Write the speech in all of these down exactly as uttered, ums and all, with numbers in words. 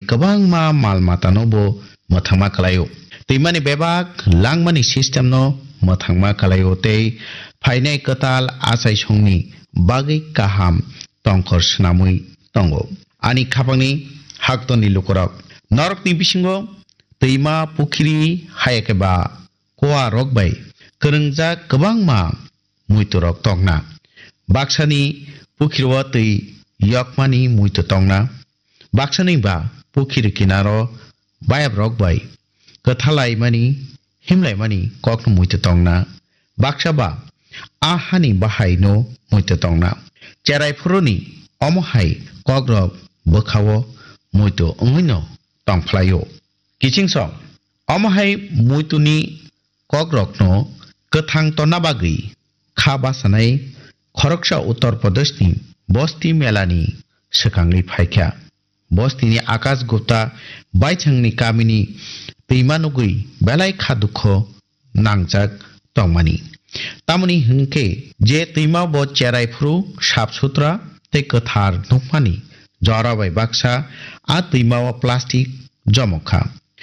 kwbangma mal matano bo mwthangma kwlaio. Twimani bebak langmani system no mwthangma kwlaio tei phainai kwtal achaisongni bagwi kaham tongkhor swnamwi tongo. Ani khapangni haktorni lukurok, norokni bisingo twima, pukhiri, hayakhe ba kuarok bai kwrwngjak kwbangma muiturok tongna. Baksani pukhiro twi yokmani muitu tongna. Baksani ba pukhiri kinaro bayabrok bai kwthalaimani, himlaimani kokno muitu tongna. Baksa ba a hani bahaino muitu tongna. Cherai phuruni omo hai kokrok bwkhao muitu wngwino tongphlaio. Kiching song, omo hai muituni kokrokno kwthang tonna bagwi kha basanai khoroksa Uttar Pradeshni Bosti Melani swkangwi phaikha. Bostini Akash Gupta baithangni kamini twima nugwi belai kha dukho nangjak tongmani. Tamoni hwnkhe je twima bo cherai phuru sap sutra tei kwthar nukmani jora bai baksa a twima o plastic jomok kha.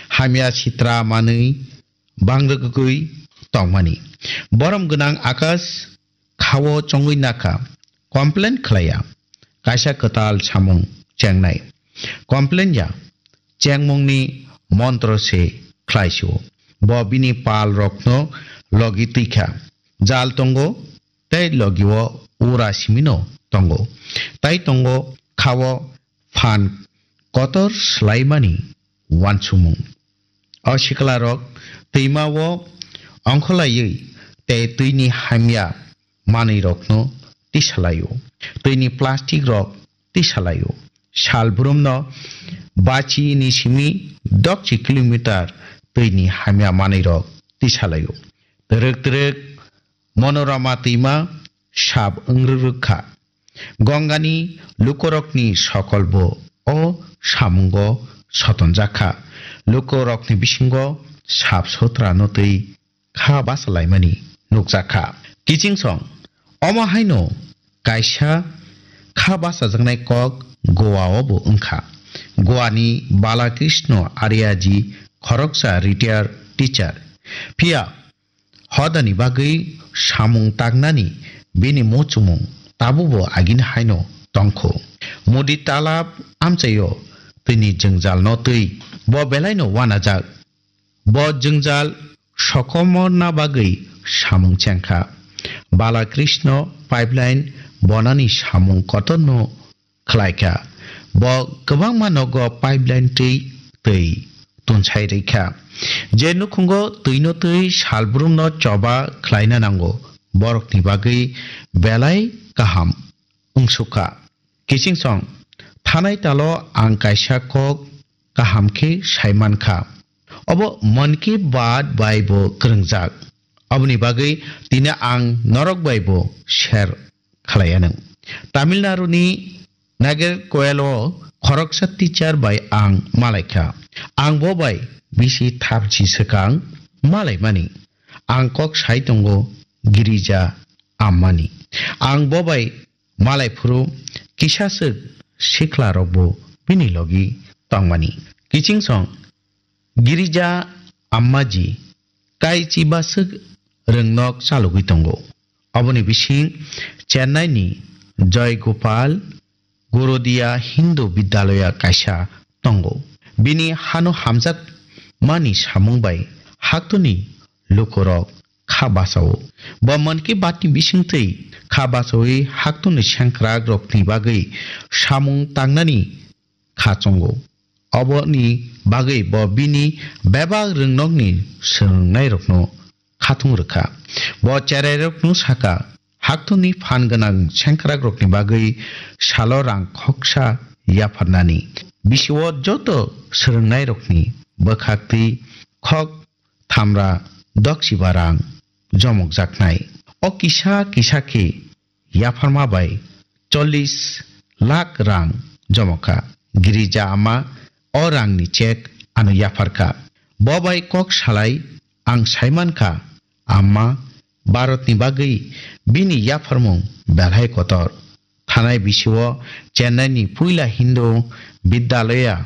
Hamya sitra manwi bangrwgwi tongmani. Borom gwnang Akash khao chongwi nakha, complain khlaiya. Kaisa kwtal samung chengnai. Complain ya, chengmungni montro se khlaisio. Bo bini pal rokno logi twikha. Jal tongo, tei logio ura simino tongo. Tai tongo khao phan kotor swlaimani uansukmung. O siklarok twima o ongkholaiwi tei twini hamya manwirokno tisalaio. Twini plastic rok tisalaio. Salbrumno bachini simi dokchi kilometer twini hamya manwirok tisalaio. Twrwk twrwk Monorama twima sap wngrwk kha. Gongani lukurokni sokolbo o samungo sotonjak kha. Lukurokni bisingo sap sotrano twi kha basalaimani nukjak kha. Kiching song, omo haino kaisa kha basajaknai kok Goa o bo wngkha. Goa ni Balakrishna Aryaji khoroksa retired teacher. Phiya hodani bagwi samung tangnani bini muchungmung tabukbo agini haino tongkhu. Mudi talap amchaio twini jwngjalno twi bo belaino uanajak. Bo jwngjal sokomorna bagwi samung chengkha. Balakrishna pipeline bonani samung kotorno khlaikha. Bo kwbangma nogo pipeline twi twi tunsai rwkha. Je nukhungo twino twi salbrumno choba khlaina nango, borokni bagwi belai kaham wngsukha. Kiching song, thanai talo ang kaisa kok kaham khe sai mankha. Obo Mann Ki Baat bai bo kwrwngjak. Oboni bagwi tini ang norok bai bo share khlai anw. Tamil Nadu ni Nagercoil o khoroksa teacher bai ang malaikha. Ang bo bai bisi thapchi swkang malaimani. Ang kok sai tongo Girija Ammani. Ang bo bai malai phuru kisa swk sikla rok bo bini logi tongmani. Kiching song Girija Ammaji kaichi baswk rwngnok chalogwi tongo. Oboni bising Chennai ni Joy Gopal Gorodia Hindu Vidyalaya kaisa tongo. Bini hano hamjak mani samung bai haktoni lukurok kha basao. Bo Mann Ki Baat ni bisingtwi kha basawi haktoni sengkrak rokni bagwi samung tangnani kha chongo. Oboni bagwi bo bini bebak rwngnokni swrwngnairokno khatung rwkha. Bo cherairokno saka, haktoni phan gwnang sengkrakrokni bagwi salo rang khoksa yapharnani. Bisio joto swrwngnairokni bwkhaktwi khok thamra doksiba rang jomokjaknai. O kisa kisa khe yapharma bai chollish lakh rang jomokha. Girija ama o rangni chek ano yapharkha. Bo bai kok salai ang saimankha, ama Bharatni bagwi bini yapharmung belhai kotor. Thanai bisio Chennai ni puila Hindu Vidyalaya